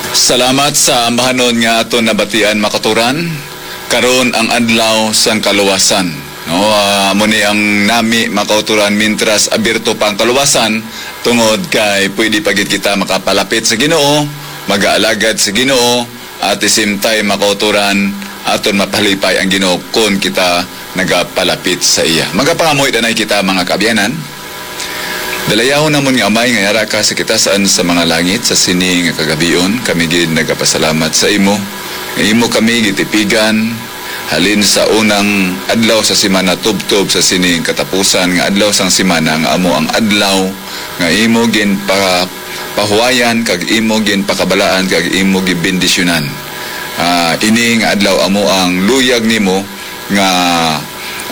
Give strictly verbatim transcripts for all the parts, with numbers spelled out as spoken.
Salamat sa ambahanon nga aton nabatian, mga kauturan. Karon ang adlaw sang kaluwasan. No, ah, amo ni ang nami, mga kauturan, mintras abierto pa ang kaluwasan, tungod kay pwede pa gid kita makapalapit sa Ginoo, magaalagad sa Ginoo, at the same time, mga kauturan, aton mapalipay ang Ginoo kon kita nagapalapit sa iya. Magapangamuy danay kita, mga kaabyanan. Dalayahon namon nga Amay nga yara ka sa kitasan sa mga langit, sa sini nga kagabion, kami gid nagapasalamat sa imo. Nga imo kami gitipigan halin sa unang adlaw sa semana tubtob sa sini katapusan nga adlaw sang semana, nga amo ang adlaw nga imo ginpa-, pahuwayan kag imo ginpakabalaan kag imo gibendisyonan. Ah, ini nga adlaw amo ang luyag nimo nga,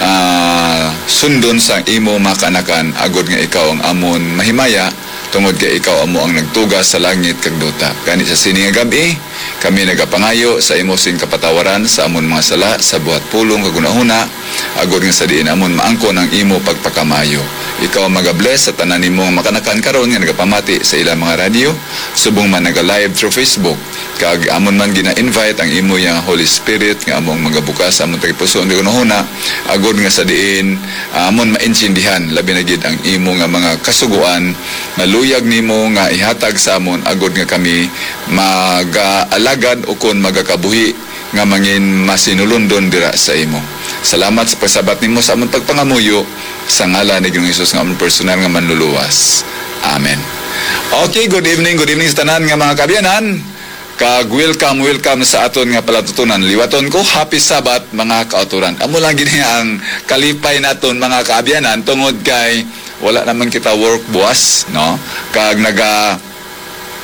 ah, sundon sa imo mga kaanakan, agod nga ikaw ang amon mahimaya, tungod kay ikaw amo ang nagtugas sa langit kag duta. Gani sa sini nga gab-i, kami nagapangayo sa imo sing kapatawaran sa amon mga sala, sa buhat pulong kag hunahuna, agod nga sa diin amon maangkon ang imo pagpakamayo. Ikaw ang magabless sa tanan nimo nga makanakan karon nga nagapamati sa ilang mga radyo, subong man naga-live through Facebook. Kag amon man gina-invite ang imo yang Holy Spirit nga amo ang magabukas sa amon tagipusoon nga hunahuna, agod nga sa diin, ah, amon maintindihan labi na gid ang imo nga mga kasugoan nga luyag nimo nga ihatag sa amon, agod nga kami magaalagad ukon magakabuhi nga mangin masinulundon dira sa imo. Salamat sa pagsabat nimo sa amon pagpangamuyo, sa ngalan ni Ginoong Jesus nga amon personal nga Manluluwas. Amen. Okay, good evening, good evening sa tanan nga mga kaabyanan. Kag welcome, welcome sa aton nga palatutunan. Liwaton ko, happy Sabbath, mga kauturan. Amo lang gid ang kalipay naton, mga kaabyanan, tungod kay wala naman kita work buwas, no? Kag naga,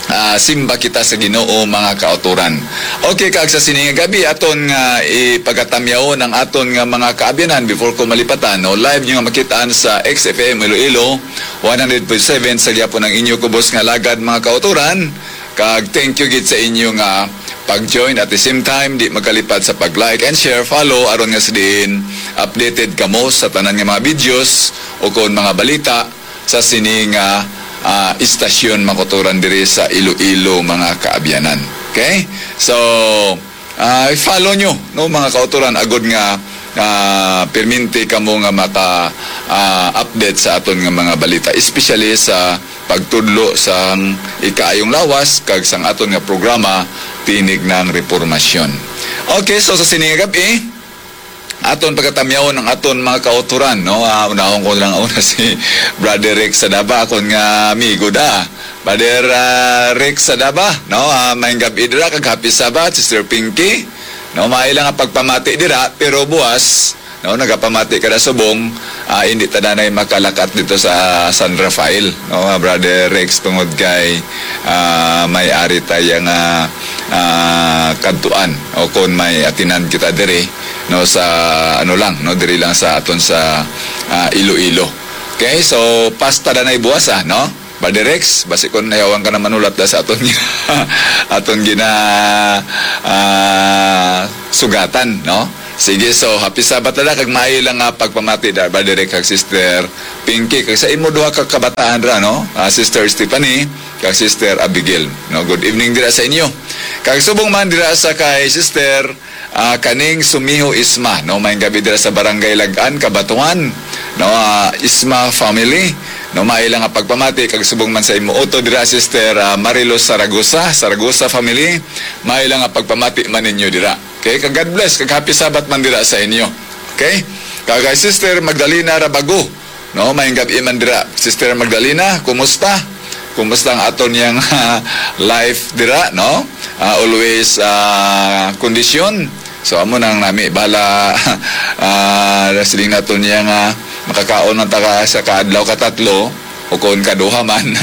ah, simba kita sa Ginoo, mga kauturan. Okay, kag sa sini nga gab-i, aton nga ipagatamyawon ang aton nga mga kaabyanan before ko malipatan, no? Live nyo nga makitaan sa X F M Iloilo, one hundred point seven sa gyapon ang inyo kubos nga lagad, mga kauturan. Kag thank you gid sa inyo nga pag-join. At the same time, di magkalipad sa pag-like and share, follow, aron nga sa diin updated kamo sa tanan nga mga videos o kon mga balita sa sini nga, ah, istasyon, mga kauturan, diri sa Iloilo, mga kaabyanan. Okay? So, ah, i-follow nyo, no, mga kauturan, agod nga, ah, perminti kamo nga maka, ah, update sa aton nga mga balita, especially sa pagtudlo sang ikaayong lawas kag sang aton nga programa, Tinig ng Repormasyon. Okay, so sa sini nga gab-i, aton pagatamyawon ang aton mga kauturan, no? Ah, unahon ko lang una si Brother Rex Sadaba, akon nga amigo da. Brother, ah, Rex Sadaba, no? Ah, maayong gab-i dira kag happy Sabbath, Sister Pinky. No, maayo lang ang pagpamati dira, pero buwas, no, nagapamati ka na subong, ah, hindi ta nanay makalakat dito sa San Rafael, no, Brother Rex, tungod kay, ah, may ari tayo nga, ah, kadtuan o kung may atinan kita diri, no, sa ano lang, no, diri lang sa aton sa, ah, Iloilo. Okay, so pasta na nay buwas, ah, no? Brother Rex, basi kung nayawan ka na manulat da sa aton gina-, aton gina, ah, sugatan, no? Sige, so happy Sabbath na lang, kag maayo lang nga pagpamati da, Brother Rex kag Sister Pinky, kag sa imo duha ka kabataan ra, no? Ah, Sister Stephanie kag Sister Abigail, no? Good evening dira sa inyo. Kag subong man dira sa kay Sister, ah, kaning Sumiho Isma, no? Maayong gab-i dira sa Barangay Lagan, Cabatuan, no? Ah, Isma family, no? Maayo lang nga pagpamati kag subong man sa imo utod dira, Sister, ah, Marilos Saragosa, Saragosa family, maayo lang nga pagpamati man ninyo dira. Okay? Kag God bless, kag happy Sabbath man dira sa inyo. Okay? Kag kay Sister Magdalena Rabago, no, maayong gab-i man dira. Sister Magdalena, kumusta? Kumusta ang aton yang life dira, no? Ah, always, ah, kondisyon. So, amo nang nami, bala, ah, siling naton niya nga makakaon man ta ka sa kaadlaw, katatlo, o kung kaduha man,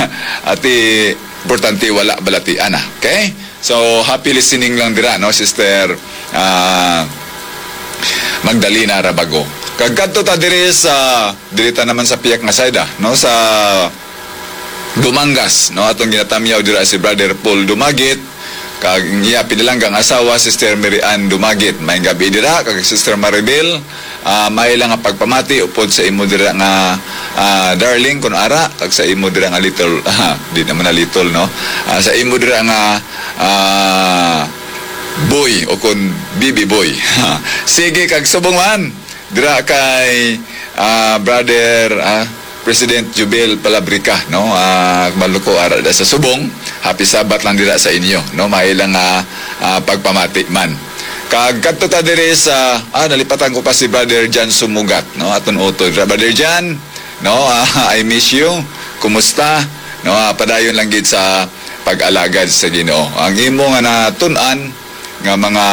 ati, importante wala balatian, ah. Okay? So, happy listening lang dira, no, Sister, ah, Magdalena Rabago. Kag kadto ta diri sa, diri ta naman sa piyak nga side, ah, no, sa Dumangas, no, atong ginatamyaw dira si Brother Paul Dumagit, kag ang iya pinalanggang asawa, Sister Mary Ann Dumagit. Maayong gab-i dira, kag Sister Maribel, ah, maayo lang nga pagpamati upod sa imo dira nga, ah, darling, kun ara, kag sa imo dira nga little, ah, di naman na little, no? Ah, sa imo dira nga, ah, Boy o kon Bibi Boy. Sige, kag subong man dira kay, ah, brother, ah, President Jubel Palabrica, no? Ah, maluko ara da sa subong. Happy Sabbath lang dira sa inyo, no? May lang, ah, ah, pagpamati man. Kag kadto ta diri sa, ah, nalipatan ko pa si Brother Jan Sumugat, no? Aton utod. Brother Jan, no? Ah, I miss you. Kumusta? No, ah, padayon lang gid sa pag-alagad sa Ginoo. Ang imo nga natun-an nga mga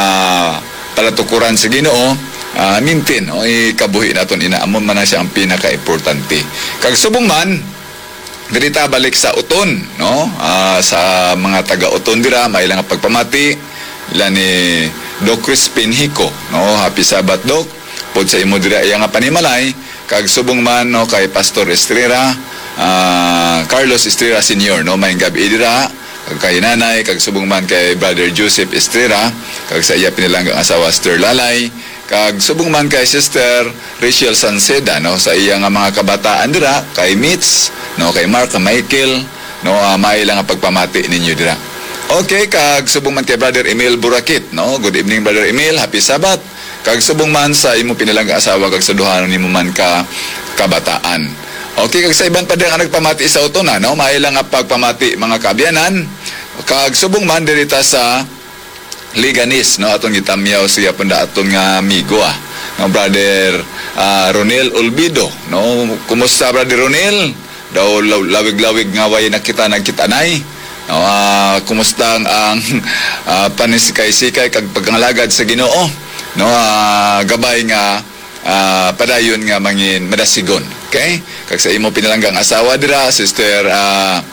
palatukuran sa Ginoo, ah, maintain, no? Ikabuhi naton ina, amo man na siya ang pinaka-importante. Kag subong man, diri ta balik sa Oton, no? Ah, sa mga taga-Oton dira, may lang pagpamati ila ni Doc Crispin Hico, no? Happy Sabbath, Doc. Pod sa imo dira iya nga panimalay, kag subong man, no, kay Pastor Estrera, ah, Carlos Estrera Senior, no, may gabi dira, kag kay nanay, kag subong man kay Brother Joseph Estrera, kag sa iya pinalanggang asawa, Sister Lalay, kag subong man kay Sister Rachel Sanceda, no, sa iya nga mga kabataan dira, kay Mitch, no, kay Mark, kay Michael, no, ah, may lang ang pagpamati ninyo dira. Okay, kag subong man kay Brother Emil Burakit, no. Good evening, Brother Emil. Happy Sabbath. Kag subong man sa imo pinalangga asawa kag sa duha nimo man ka kabataan. Okay, kag sa iban pa dira nga nagpamati sa Oton, no? May lang nga pagpamati, mga kaabyanan. Kag subong man diri ta sa Leganes, no? Atong gitamyaw siya pun da aton nga amigo, ah, nga brother, ah, Ronel Olvido, no? Kumusta, brother Ronel? Daw law-, lawig-lawig nga way nakita nagkita nay. No, ah, kumusta ang, ang, ah, panisikay-sikay kag pagpangalagad sa Ginoo? No, ah, gabay nga, ah, padayon nga mangin madasigon. Okay? Kag sa imo pinalanggang asawa dira, Sister, ah,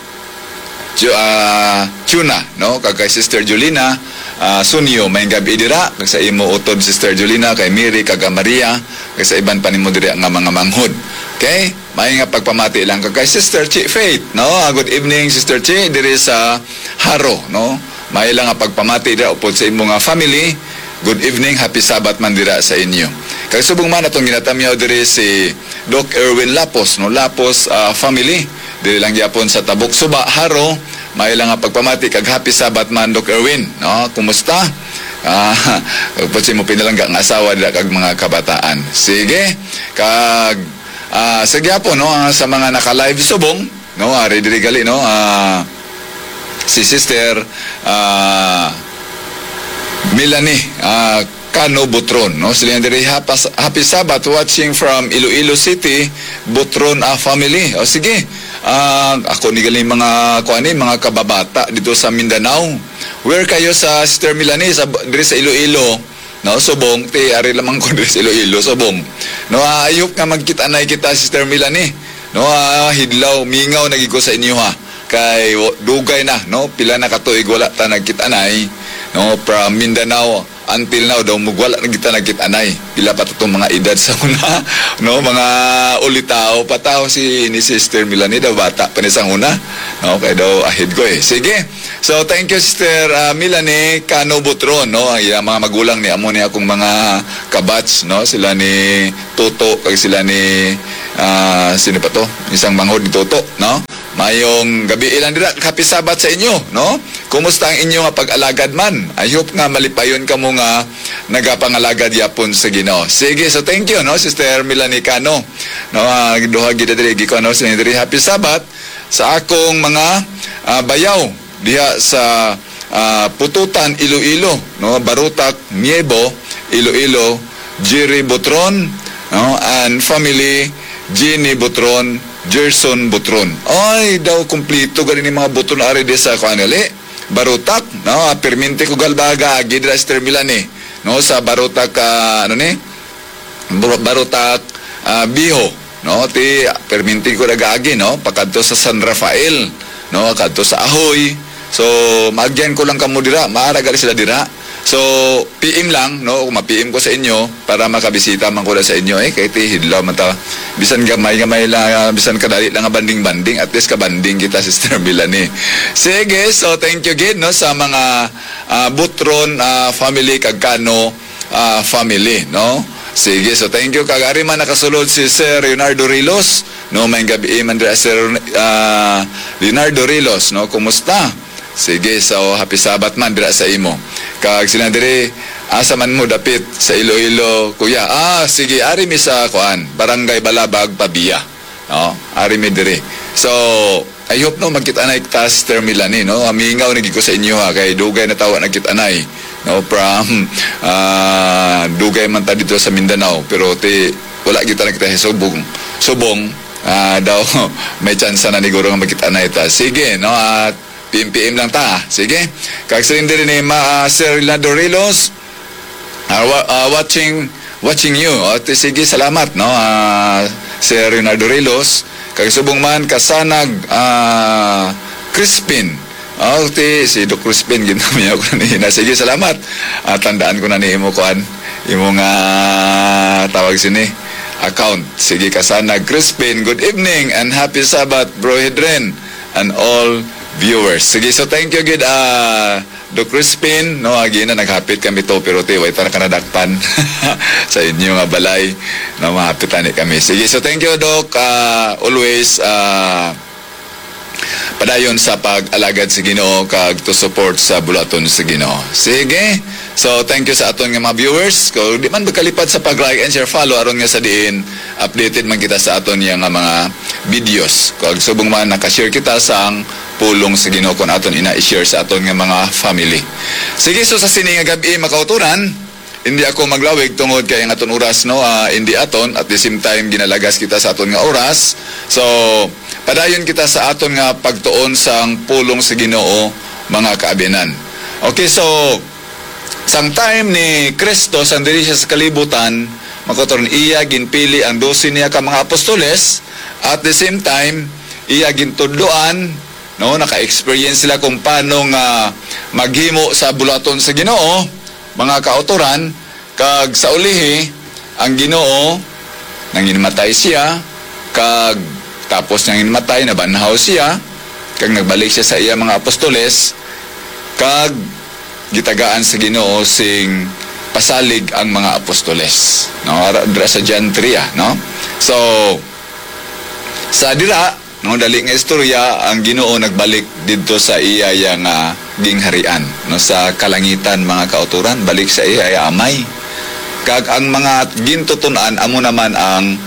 Ju-, ah, Chuna, no? Kag kay Sister Julina, ah, Sunyo, may gabi dira. Kag sa imo utod, Sister Julina, kay Mary, kag Maria, kag sa iban pa nimo dira nga mga manghod. Okay? May nga pagpamati lang ka kay Sister Chi Faith, no? Ah, good evening, Sister Chi, diri sa Jaro, no? May lang nga pagpamati dira upod sa imo nga family. Good evening, happy Sabbath man dira sa inyo. Kag subong man atong ginatamyaw diri si Doc Erwin Lapos, no? Lapos, ah, family. Diri lang gyapon sa Tabok Suba, Jaro. May lang nga pagpamati kag happy Sabbath man, Doc Erwin, no? Kumusta? Ah, upod sa imo pinalangga nga asawa dira kag mga kabataan. Sige. Kag Ah, sa gyapon, no, ah, sa mga naka-live subong, no, ari diri gali, no, ah, si Sister, ah, Melanie, ah, Cano Butron, no, sila diri, "Hapas-, Happy Sabbath, watching from Iloilo City, Butron, ah, family." O, sige, ah, ako ni gali mga, kuan ni, mga kababata dito sa Mindanao. Where kayo sa Sister Melanie? Sa, diri sa Iloilo? No, subong, ti, ari lamang ko diri sa Iloilo, subong. No, ah, I hope nga magkita-anay kita, Sister Melanie. No, ah, hidlaw, mingaw na gid ko sa inyo, ha. Kay wa-, dugay na, no, pila na ka tuig wala ta nagkita-anay. No, from Mindanao until now daw, mug-, wala na kita nagkita-anay. Pila pa to tong mga edad sa una, no, mga ulitaw pa ta, si, ni Sister Melanie daw, bata pa ni sa una. No, kay daw ahead ko, eh. Sige. So, thank you, Sister, ah, Melanie Cano Butron, no? Ang iyang mga magulang ni, amo ni akong mga kabats, no? Sila ni Toto, kag sila ni, ah, sino pa to? Isang manghod ni Toto, no? Mayong gabi ilang dira, happy Sabbath sa inyo, no? Kumusta ang inyo nga pag-alagad man? I hope nga malipayon kamo nga nagapangalagad yapon sa Ginoo. Sige, so thank you, no, Sister Melanie Cano. No, ah, duha gid diri, gi ko, no, sa diri, happy Sabbath sa akong mga, ah, bayaw diha sa, ah, Pututan, Iloilo, no? Barutak, Miebo, Iloilo, Jerry Butron, no? And family, Jenny Butron, Gerson Butron. Ay, daw kumplito gani ni mga Butron ari di sa kuan gali. Barutak, no? Ah, perminti ko galbaga agi dira sa terminal ni, no? Sa Barutak, ah, ano ni? Bur-, Barutak, ah, Biho, no? Ti, perminti ko nagaagi, no? Pakadto sa San Rafael, no? Kadto sa Ahoy. So, maagyan ko lang kamo dira, maara gali sila dira. So, P M lang, no? Kung ma-P M ko sa inyo, para makabisita man ko na sa inyo, eh, kay ti hidlaw man ta. Bisan gamay-gamay lang, ah, bisan kadali lang nga banding-banding, at least kabanding kita, Sister Melanie. Sige, so thank you gid, no, sa mga, ah, Butron, ah, family, kag Cano, ah, family, no? Sige, so thank you. Kag ari man nakasulod si Sir Leonardo Rilos, no? May gabi man dira, Sir, ah, Leonardo Rilos, no? Kumusta? Sige, so happy Sabbath man dira sa imo. Kag sila diri, asa man mo dapit sa Iloilo, kuya? Ah, sige, ari mi sa kuan, Barangay Balabag, Pavia. No, ari mi diri. So, I hope, no, magkita-anay ta, Sister Melanie, no? Amingaw na gid ko sa inyo, ha, kay dugay na tawa nagkita-anay, no, from, ah, dugay man ta dito sa Mindanao, pero ti wala kita nakita sa subong. Subong, ah, daw may tsansa na niguro nga magkita-anay ta. Sige, no, at P M P M lang ta. Sige. Kag siling diri ni Ma, ah, Sir Rinaldo Rilos, ah, wa-, ah, watching, watching you. O, ti, sige, salamat, no? Ah, Sir Rinaldo Rilos, kag subong man, Kasanag, ah, Crispin. O, ti, si Doc Crispin, ginamiya ko na niya. Sige, salamat. Ah, tandaan ko na ni imo, kuan, imo nga tawag sini, account. Sige, Kasanag Crispin, good evening and happy Sabbath, Bro Hedren, and all viewers. Sige, so thank you gid, ah, Doc Crispin, no, agi na naghapit kami to, pero ti, way ta na ka nadakpan sa inyo nga balay, no, mahapit ani kami. Sige, so thank you, Doc. Ah, always, ah, padayon sa pag-alagad sa Ginoo kag to support sa buluhaton sa Ginoo. Sige, so thank you sa aton nga mga viewers. Kung di man magkalipad sa pag-like and share, follow, aron nga sa diin updated man kita sa aton nga mga videos. Kag subong man, nakashare kita sang pulong sa Ginoo, kung aton ina i-share sa aton nga mga family. Sige, so sa sini nga gab-i, makauturan, hindi ako maglawig tungod kay ang aton oras, no, ah, hindi aton, at the same time, ginalagas kita sa aton nga oras. So, padayon kita sa aton nga pagtuon sang pulong sa Ginoo, mga kaabyanan. Okay, so, sang time ni Cristo, sang diri siya sa kalibutan, makauturan, iya ginpili ang dose niya ka mga apostoles, at the same time, iya gintudloan, no, naka-experience sila kung paano nga maghimo sa buluhaton sa Ginoo, mga kautoran, kag sa ulihi, ang Ginoo, nanginmatay siya, kag tapos niya ginmatay, nabanhaw siya, kag nagbalik siya sa iya mga apostoles, kag gitagaan sa Ginoo sing pasalig ang mga apostoles, no? Ara-, dira sa John three, ah, no? So, sa dira, no, dali nga istorya, ang Ginoo nagbalik didto sa iya, iya nga gingharian, no, sa kalangitan, mga kautoran, balik sa iya, iya Amay. Kag ang mga gintuton-an amo naman ang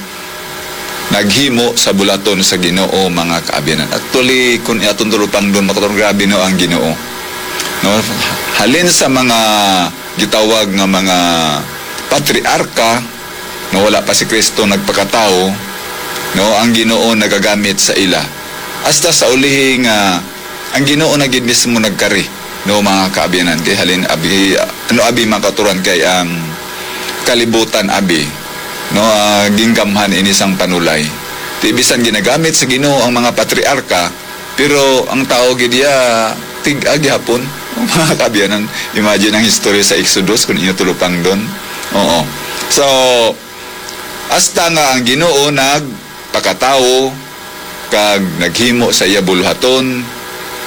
naghimo sa buluhaton sa Ginoo, mga kaabyanan. Actually, kung aton tulupangdon, mga kautoran, grabe, no, ang Ginoo. No? Halin sa mga gitawag nga mga patriarka, no, wala pa si Kristo nagpakatawo, no, ang Ginoo nagagamit sa ila. Hasta sa ulihi nga ang Ginoo na gid mismo nagkari, no, mga kaabyanan, kay halin abi, ano abi, mga kautoran, kay ang kalibutan abi, no, ah, ginggamhan ini sang panulay. Ti bisan ginagamit sa Ginoo ang mga patriarka, pero ang tao gid iya tig-a gihapon. Mga kaabyanan, imagine ang history sa Exodus kung inyo tulupangdon. Oo. So, hasta nga ang Ginoo nagpakatawo kag naghimo sa iya buluhaton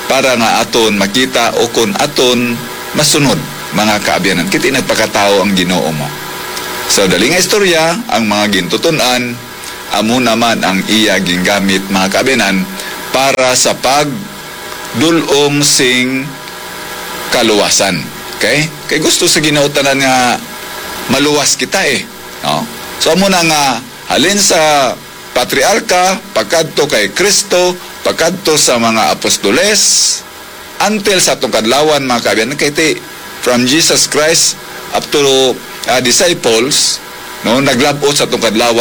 para nga aton makita ukon aton masunod, mga kaabyanan. Kay ti nagpakatawo ang Ginoo mo. So, dali nga istorya, ang mga gintuton-an, amo naman ang iya gingamit, mga kaabyanan, para sa pagdul-ong sing kaluwasan. Okay? Kay gusto sa Ginoo tanan nga maluwas kita, eh. No? So, amo na nga, halin sa patriarka, pakadto kay Kristo, pakadto sa mga apostoles, until sa atong kadlawan, mga kaabyanan, kay ti, from Jesus Christ up to, ah, disciples, no, naglab-ot sa atong kadlawan,